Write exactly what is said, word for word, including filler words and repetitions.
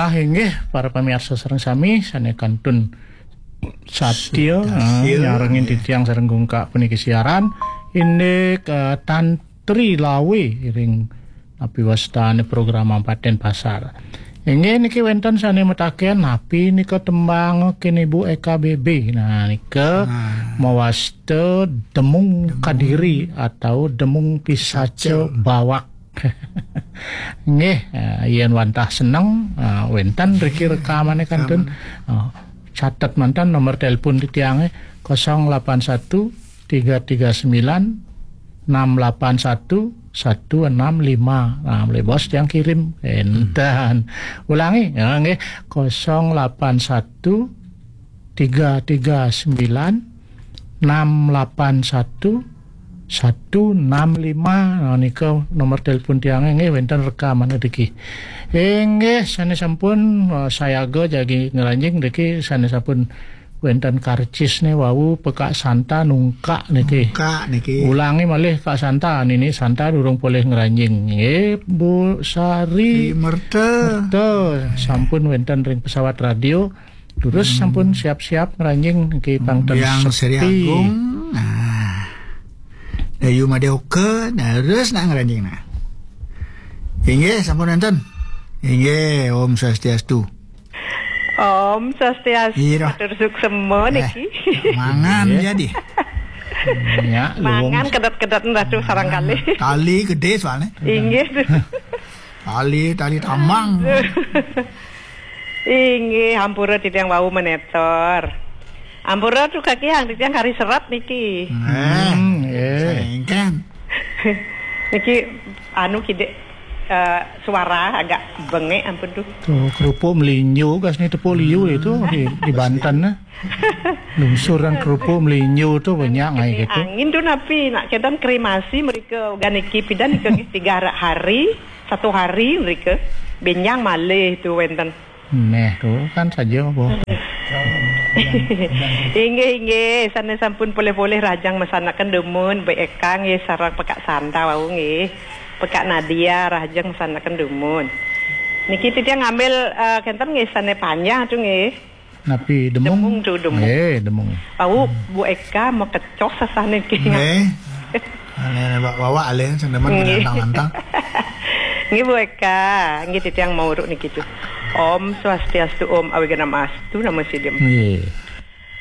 Ah, inggih, para pamiarsa sareng sami, sane kantun satia, satia, eh, nyarengin titiang sareng Gungkak puniki siaran, indik, eh, Tantri Lawe ring napi wastane program Paten Pasar. Inggih niki wenten sane mataken napi nika tembang kene Ibu Eka B B. Nah, nika mawasta Demung Kadiri atau Demung Pisaca Bawak. Nggih, eh, yen wantah seneng, eh, wenten riki rekamane kantun. Eh, catet manten nomor telepon titiange, kosong lapan satu tiga tiga sembilan enam lapan satu satu enam lima. Nah, meli bos tiang kirim. Enten. Ulangi, ya, nggih, kosong lapan satu tiga tiga sembilan enam lapan satu satu enam lima. Nah, nika nomor telepon tiange nggih, wenten rekamane niki. Inggih, sane sampun, eh, sayaga jagi ngranjing niki, sane sampun wenten karcisne wau Pekak Santa nungkak niki. Nungkak niki. Ulangi malih Kak Santa, nini Santa durung polih ngranjing. Nggih, Bu Sari. Di Merta. Merta, sampun wenten ring pesawat radio. Terus sampun siap-siap ngranjing niki pang ten Biang Sri sepi. Agung. Nah. Dayu Madeoka, nah, terus nak ngranjing nah. Inggih, sampun wenten. Inggih, Om Swastiastu. Om Swastiastu, Ira. Matur suksema niki. Mangan jadi. Ya, luwung. Mangan kedet-kedet ratu sarang kalih. Tali gede soalnya. Inggih. Tali, tali tambang. Inggih, ampura titiang wau menetor. Ampura tu kaki yang titiang kari serat niki. Eh, hmm, eh. Sengken. Niki anu kidik, eh, suara agak bengek ampun tu. Tuh, kerupuk melinjo gas ni tepuk liu itu di, di Banten nah. Lungsuran kerupuk melinjo tu banyak ngai gitu. Angin tu napi nak kedan kremasi mereka ganiki pidan ika tiga hari, satu hari mereka benjang malih tu wenten. Neh, tu kan saja apa. Inggih, inggih. Sane sampun polih-polih rahajeng masanaken dumun, Bu Eka nggih sareng Pekak Santa wau nggih. Pekak Nadia rahajeng masanaken dumun. Niki titiang ngambil, eh, kenten nggih sane panjang tu nggih. Napi demung? Demung tu, demung. Eh, demung. Wau Bu Eka mau kecoh sasane nggih. Nggih. Ane bawa alih sing demen nggih. Nantang-nantang. Nggih, Bu Eka, nggih titiang mau uruk niki tu. Om Swastiastu, Om Awighnam Astu, Namo Siddham. Nggih.